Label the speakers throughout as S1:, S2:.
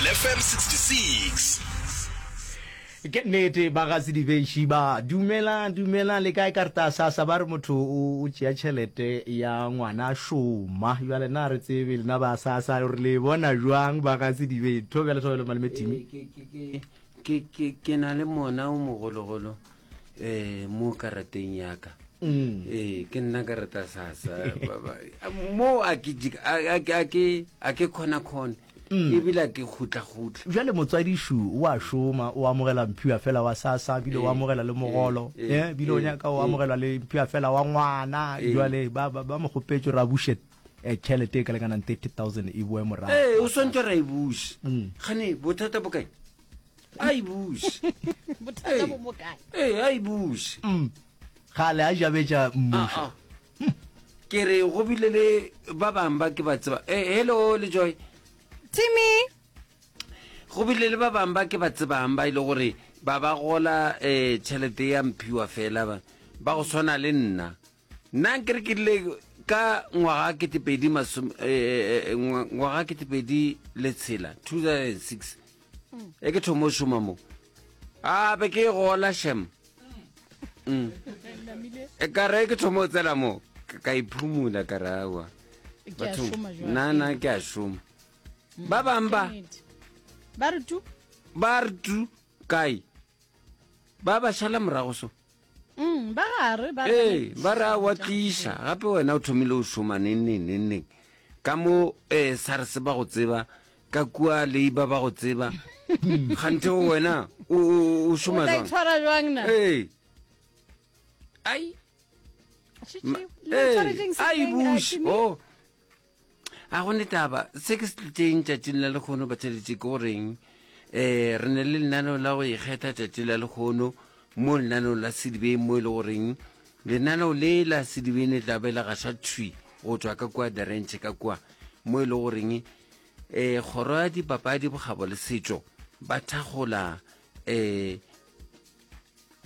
S1: FM 66.
S2: Ke nnete ba ga Sedibeši ba dumelang dumelang le kae karta sasa ba re motho o tšea tšhelete ya ngwana a šoma jale na re tsebe lena ba sasa gore le bona jwang ba ga Sedibeši thobela thobela malome Timi
S3: ke ke ke ke na le mona o mogologolo eh mo karateng ya ka mm. eh ke nna karata sasa mo a ke a ke a ke khona khona mm. ebile a ke khutla khutla
S2: jale motswadišu o a šoma o amogela mphiwa fela wa sasa bile o eh, amogela le mogolo eh, eh bile o nyaka o amogela le mphiwa fela wa ngwana jale ba ba mo kgopetse ra buše tšhelete e ka lekanang 30000 e boe morago
S3: ee o swantse ra e buše mm. gane bothata bo kae a e buše
S4: bothata bo mo kae
S3: ee a e buše
S2: mm. gale a jabetša mmušo
S3: ah, ah. ke re go bile le ba bangwe ba ke ba tseba eh, hello le joy
S4: timmy
S3: go bile le ba bangwe ba ke ba tsebang ba e le gore ba ba gola um tšhelete ya mphiwa fela ba ba go tshwana le nna Nna nkere ke rile ka ngwaga ketepedi masome eh, eh, eh, ngwaga ketepedi le tshela 2006 mm. e ke thomo šoma mo a be ke gola shem mm. e ka re ke thomo tsela mo ka iphumula ka re awa batho nna nna ke a šoma mm. ba bang ba
S4: ba re tu
S3: ba re tu kae ba ba šala morago so
S4: Mm, ba gare ba
S3: ee ba re a wa tliša gape wena o thomile o šoma neng neng neng neng ka mo um sars ba go tseba ka kua leiba ba go tseba gante o wena o šoma
S4: jwang tshwara jwang na
S3: ee ai ai bush oh A go ne taba, se ke se tlitšeng tšatšing la lekgono batheletši ke goreng um re ne le lenaneo la go ikgetha tšatši la lekgono mo lenaneong la Sedibeng mo e le goreng lenaneo le la Sedibeng le tla be le gaša thwi go tšwa ka kua The Ranch ka kua mo e le goreng um kgoro ya dipapadi bokgabo le setšo ba thakgola um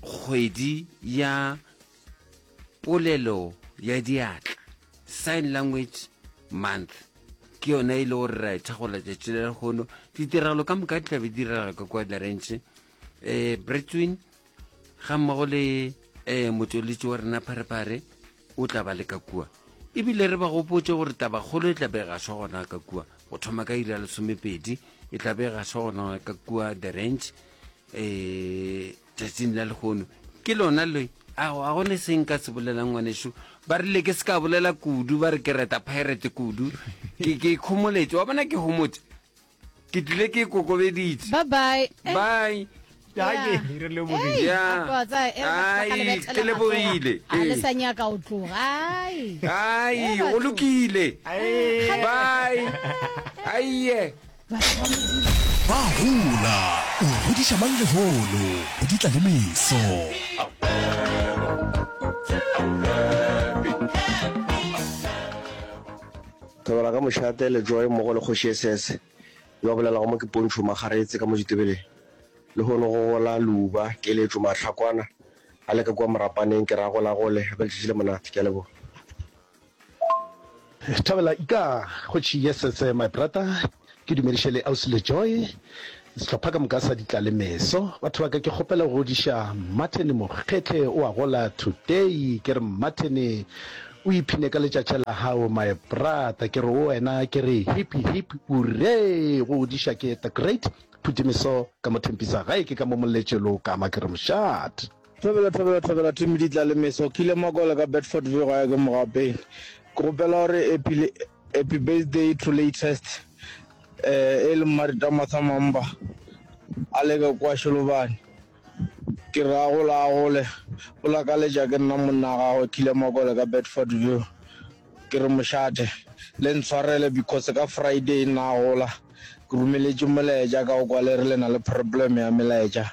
S3: Kgwedi ya Polelo ya Diatla, Sign Language Month, ke yona e le gore ra e thagola tšatši la lehono. Ditiragalo ka moka di tla be di direga ka kua The Ranch. Um eh, Bretwin ga mmogo le um motšweletši wa rena Pharephare o tla ba le ka kua. Ebile re ba gopotše gore tabakgolo e tla be e gašwa gona ka kua go thoma ka iri ya lesomepedi e tla be e gašwa gona ka kua The Ranch. um tšatšing la lehono ke lona le a go ne seng ka se bolelang ngwaneso ba rile ke se ka bolela kudu ba re ke reta pirate kudu ke ke ikhomoletše wa bona ke homotse ke tlile ke ikokobeditše
S4: bye bye
S3: eh. bye ke lebogile
S4: le sa nyaka o tloga ai
S3: ai go lokile bye aiye
S1: Ba gola, o godiša mang lehono, go di tla le meso.
S5: Thobela ka mošate le Joy mmogo le Kgoši Esese yo a bolelago mo ke Pontsho Makgaretse ka mo Ditebeleng. Lehono go gola leuba, keletšo, mahlakwana a le ka kua morapaneng ke ra golagole gape letšatši le monate. Ke a leboga.
S6: Thobela ika kgoši yesese my brother ke dumediše le ausi le Joy sehlopha ka moka sa ditla le meso batho ba ka ke kgopela go godiša Martin Mokgetle o a gola today ke re Martin o iphine ka letšatši la gago my brother ke re o wena ke re hip hip hurray go godiša ke the great Phutimiso ka mo Thempisa gae ke ka mo Moletšelo kama ke re mošate.
S7: Thobela thobela thobela Tumi di tla le meso Kile Makole ka Bedfordview gae ke Mogapeng Ke gopela gore happy le happy birthday to latest eh e le Mmarita Martha Mamba a leke kwa Šolobane ke re a gole a gole o lakaletša ke nna monna gagwe Kile Makole ka Bedfordview ke re mošate le ntshwarele because ka Friday nna a gola ke romeletše molaetša ka o kwa le re le na le problem ya melaetša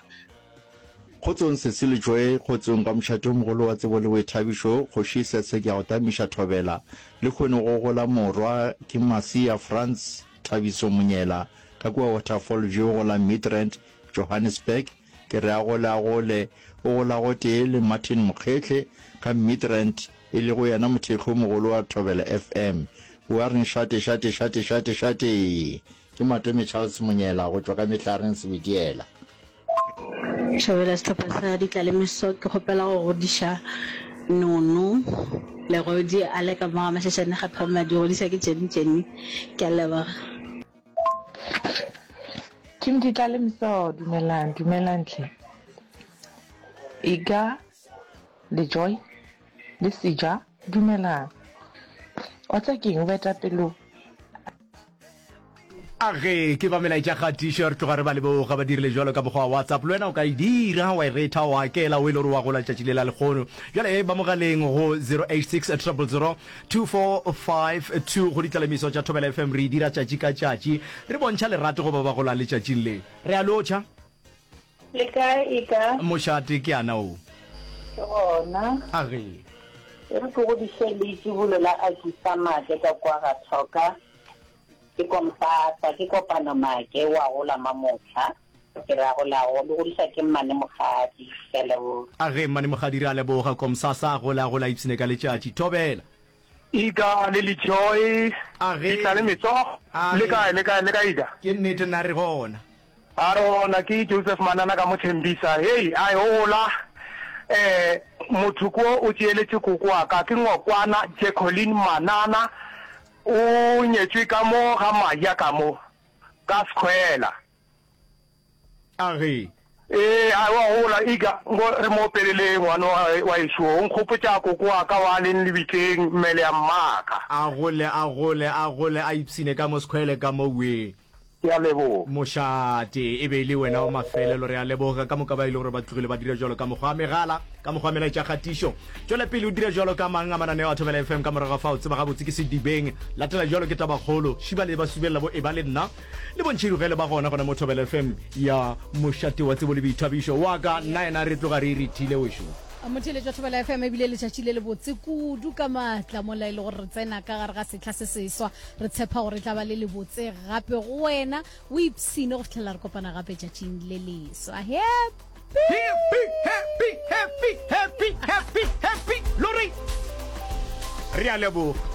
S8: Kgotsong Sesi le Joy, kgotsong ka mošate o mogolo wa tsebo le boithabišo, Kgoši Sese ke a go tamiša thobela, lehono go gola morwa ke Masia Frans Thabiso Monyela ka kua Waterfall View go la Midrand, Johannesburg, ke re a gole a gole, o gola gotee le Martin Mokgehle ka Midrand e lego yena mothekgi o mogolo wa Thobela FM. O a reng šate šate šate šate šate! Ke Matome Charles Monyela go tšwa ka Mehlareng Sebediela.
S9: Thobela sehlopha sa Ditlalemeso ke kgopela go godiša Nono Legodi a le ka mo ga Mashashane ga Phamadi godiša ke Jenny Jenny ke a leboga.
S10: Team Ditlalemeso dumelang dumelang hle Iga le Joy le Seja dumelang wa tseba keng boetapelo
S2: A ge ke ba melaetša kgatišo re tloga re ba leboga ba dirile jalo ka mokgwa wa WhatsApp le wena o ka e dira wa e retha wa akela o e le gore wa gola letšatši le la lekgono bjale e ba mogaleng go 086 000 2452 go ditlalemiso tša Thobela FM re e dira tšatši ka tšatši re bontšha lerato go ba ba golang letšatšing le re a lotšha
S11: Le kae e ka?
S2: Mošate ke ana o.
S11: Ke gona.
S2: A ge.
S11: E re ke godiše leitšibulo la Akisa Maake ka kua ga Thoka. Ke kompasa, ke kopano Maake o a gola mamohla. Ke re a golago le godiša ke Mmane Mokgadi. Ke a leboga.
S2: A ge Mmane Mokgadi re a leboga. Komsasa a gola a gola a ipshine ka letšatši. Thobela.
S12: Ika le Lejoy.
S2: A ge.
S12: Di tla le metsogo.
S2: A
S12: Le
S2: ge.
S12: kae, le kae, le kae Ika?
S2: Ke nnete nna re gona.
S12: A re gona, ke Joseph Manana ka mo Thembisa. Hei, a e gola. Eh, motho ko o tšeeletše koko wa ka, ke Ngokwana Jacqueline Manana. O nyetšwe ka mo ga Maja ka mo, ka Sekhwela.
S2: A re.
S12: Ee, a wa gola, ika, nko re mo opelele ngwana wa, wa ešo. O nkgopotša koko wa ka wa leng lebitleng, mmele ya mmaka.
S2: A gole, a gole, a gole, a ipshine ka mo Sekhwele ka mo wee.
S12: Ke a leboga.
S2: Mošate, e be e le wena wa mafelelo. Re a leboga ka moka ba e le gore ba tlogile ba dira bjalo ka mokgwa wa megala, ka mokgwa wa melaetša kgatišo. Tšwela pele o dira bjalo ka mang a mananeo a Thobela FM ka morago ga fao. Tseba gabotse ke sedibeng. Latela bjalo ke tabakgolo. Šiba le ba subelela bo eba le nna le bontšhirugele ba gona gona mo Thobela FM ya mošate wa tsebo le boithabišo. Wa ka nna yena re tloga re irithile wešo.
S4: Motheeletši wa Thobela FM, e bile letšatši le lebotse kudu ka maatla mola e le gore re tsena ka gare ga sehla se seswa. Re tshepa gore e tla ba le lebotse gape go wena. O ipshine go fihlela re kopana gape tšatšing le leswa. Happy!
S2: Happy, happy, happy, happy, happy, happy, lori! Re a leboga.